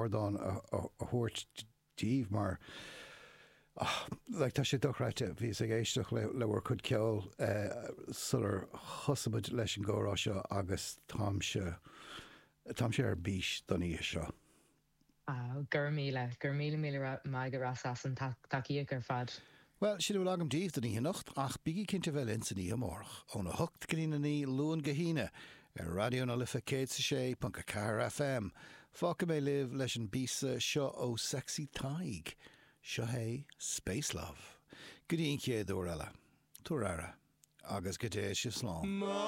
ardán a thabhairt daoibh mar like tá sé dochreidte. Bhíos ag éisteacht le le bhur cuid ceoil sular thosaigh muid leis an gcomhrá seo agus táimse táimse ar bís don oíche seo. Ah, go raibh míle, go raibh míle míle maith agat Rossa as an tacaíocht ar fad. Bhuel, sin a bhfuil agam daoibh don oíche anocht, ach bígí cinnte bheith linn san oíche amárach, óna hocht go dtí'n a 9, Luan go hAoine, ar Raidió na Life 106.4 FM. Fágfaidh mé libh leis an bpíosa seo ó Sexy Tadhg. Seo é Space Love. Go dtí an chéad uair eile, tabhair aire, agus go dté sibh slán.